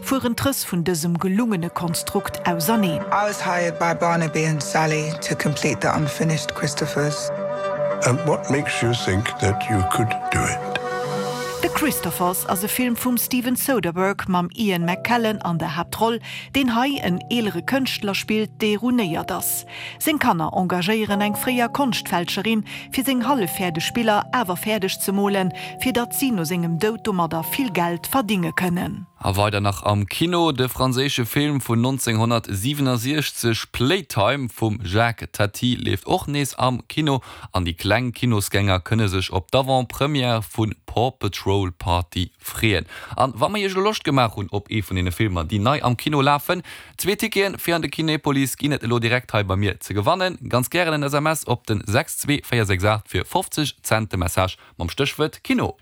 fueren d'Rëss vun dësem gelungene Konstrukt auserneen. I was hired by Barnaby and Sally to complete the unfinished Christophers. And what makes you think that you could do it? The Christophers ass e Film vum Steven Soderbergh mam Ian McKellen an der Haaptroll, deen hei en eelere Kënschtler spillt, dee ruinéiert ass. Seng Kanner engagéieren eng fréier Konschtfälscherin, fir seng halleffäerdeg Biller awer fäerdeg ze molen, fir datt si no sengem Doud domadder vill Geld verdinge kënnen. A weider nach am Kino, de franséische Film vun 1967 Playtime vum Jacques Tati leeft och nees am Kino an déi kleng Kinosgänger kënne sech op d'Avant-Première vu Paw Patrol Party freeën. An wa mer iech elo Loscht gemaach hunn op ee vun deene Filmer déi nei am Kino lafen, Zwee Ticketen fir an de Kinepolis ginn et elo direkt hei bei mir ze gewannen. Ganz gären en SMS op den 62468 fir 50 Cent de Message mam Stéchwuert Kino.